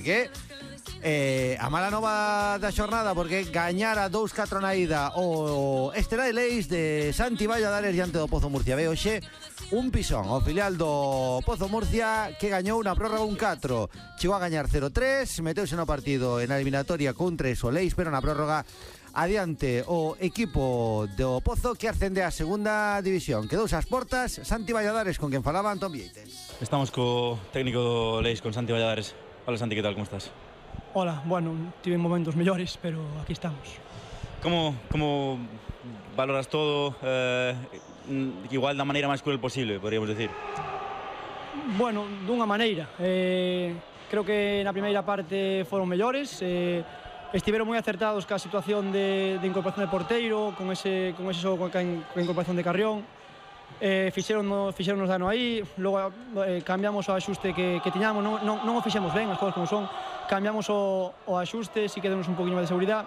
Que a mala nova da xornada porque gañara 2-4 na ida o Estela de Leis de Santi Valladares diante do Pozo Murcia. Ve hoxe un pisón o filial do Pozo Murcia que gañou na prórroga 1-4. Chegou a gañar 0-3, meteuse no partido en a eliminatoria con 3 o Leis, pero na prórroga adiante o equipo do Pozo que ascende a segunda división. Quedou ás portas Santi Valladares, con quen falaba Antón Vieites. Estamos co técnico do Leis, con Santi Valladares. Hola Santi, ¿qué tal? ¿Cómo estás? Hola, bueno, tive momentos mellores, pero aquí estamos. ¿Cómo valoras todo? Igual da maneira máis cruel posible, podríamos decir. Bueno, dunha maneira. Creo que na primeira parte foron mellores. Estiveron moi acertados ca situación de incorporación de porteiro, con ese xogo ca incorporación de Carrión. Fixeronnos dano aí, logo cambiamos o axuste que tiñamos, non o fixemos ben, as cousas como son, cambiamos o axuste, si que demos un poquinho máis de seguridade,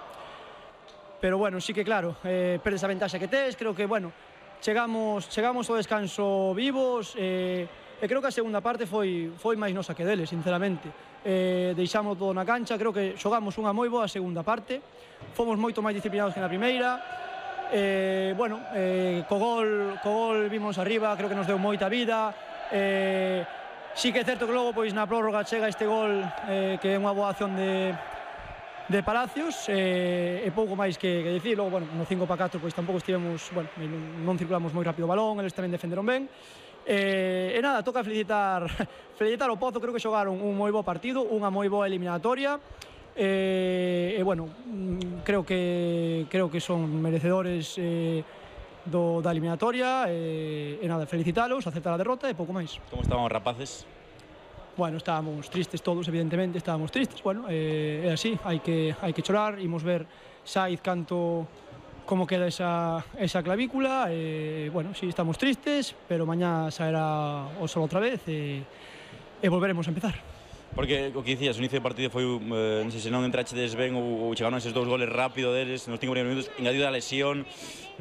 pero bueno, sí que claro, perdes a ventaxa que tes, creo que, bueno, chegamos ao descanso vivos, e creo que a segunda parte foi máis nosa que deles, sinceramente. Deixamos todo na cancha, creo que xogamos unha moi boa segunda parte, fomos moito máis disciplinados que na primeira. Bueno, co gol vimos arriba, creo que nos deu moita vida. Sí que é certo que logo pois na prórroga chega este gol que é unha boa acción de Palacios, e pouco máis que dicir. Logo, bueno, no 5-4 pois tampouco estivemos, bueno, non circulamos moi rápido o balón, eles tamén defenderon ben. E nada, toca felicitar o Pozo, creo que xogaron un moi bo partido, unha moi boa eliminatoria. Bueno, creo que son merecedores da eliminatoria, e nada, felicitalos, aceptar a derrota e pouco máis. Como estaban os rapaces? Bueno, estábamos tristes todos, evidentemente, estábamos tristes. Bueno, é así, hai que chorar, imos ver Saiz como queda esa clavícula. Bueno, sí, estamos tristes, pero mañá saerá o sol outra vez e volveremos a empezar. Porque o que dicías, o inicio do partido foi, non sei se non entrachedes ben ou chegaron eses dous goles rápido deles nos 5 primeiros minutos, engadido a lesión,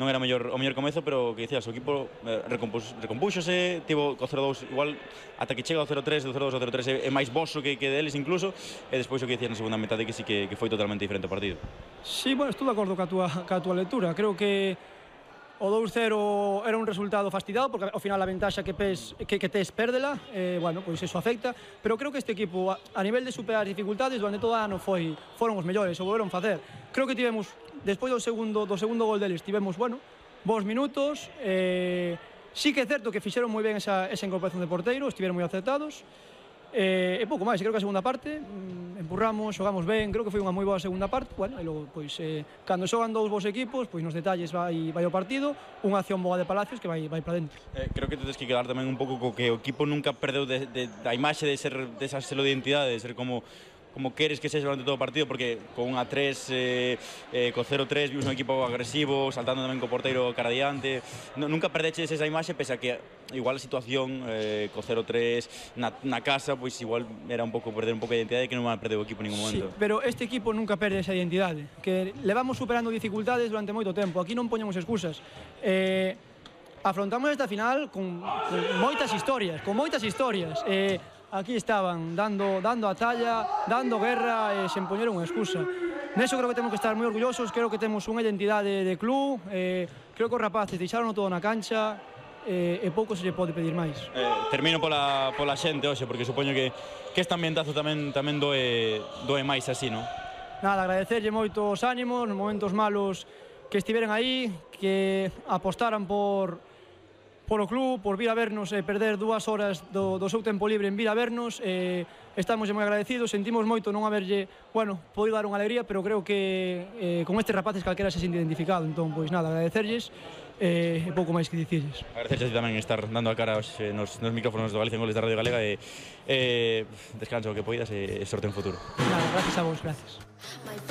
non era o mellor comezo, pero o que dicías, o equipo recompúxose, tivo o 0-2, igual ata que chega o 0-3, do 0-2 ao 0-3 é máis boso que deles incluso, e despois o que dicías na segunda metade que sí que foi totalmente diferente o partido. Sí, bueno, estou de acordo ca tua lectura, creo que o 2-0 era un resultado fastidiado porque ao final a ventaxa que tes pérdela, bueno, pois eso afecta, pero creo que este equipo a nivel de superar dificultades durante todo o ano foron os mellores, o volveron facer. Creo que tivemos, despois do segundo gol deles, tivemos, bueno, bons minutos, sí que é certo que fixeron moi ben esa incorporación de porteiro, estiveron moi acertados, e pouco máis. Creo que a segunda parte empurramos, xogamos ben, creo que foi unha moi boa segunda parte. Bueno, e logo, pois, cando xogan dous bons equipos, pois nos detalles vai o partido, unha acción boa de Palacios que vai para dentro. Creo que tedes que quedar tamén un pouco co que o equipo nunca perdeu da imaxe de ser desa selo de identidade, de ser como queres que sexa durante todo o partido, porque con un A3, co 0-3 vimos un equipo agresivo, saltando tamén co porteiro cara adiante. Nunca perdeches esa imaxe, pese a que igual a situación co 0-3 na casa, pois igual era un pouco perder un pouco de identidade que non va a perder o equipo en ningún momento. Sí, pero este equipo nunca perde esa identidade, que levamos superando dificultades durante moito tempo, aquí non poñemos excusas. Afrontamos esta final con moitas historias, aquí estaban dando a talla, dando guerra e sen poñer unha excusa. Neso creo que temos que estar moi orgullosos, creo que temos unha identidade de club, creo que os rapaces deixaron todo na cancha, e pouco se lle pode pedir máis. Termino pola xente hoxe, porque supoño que este ambientazo tamén doe máis así, non? Nada, agradecerlle moito os ánimos, nos momentos malos que estiveran aí, que apostaran por o club, por vir a vernos e perder 2 horas do seu tempo libre en vir a vernos. Estamos moi agradecidos, sentimos moito non haberlle, bueno, podido dar unha alegría, pero creo que con estes rapaces calquera se sente identificado. Entón, pois nada, agradecerlles e pouco máis que dicirles. Agradecerles tamén estar dando a cara nos micrófonos do Galicia en Goles da Radio Galega, e descansa o que poidas e sorte en futuro. Nada, gracias a vos, gracias.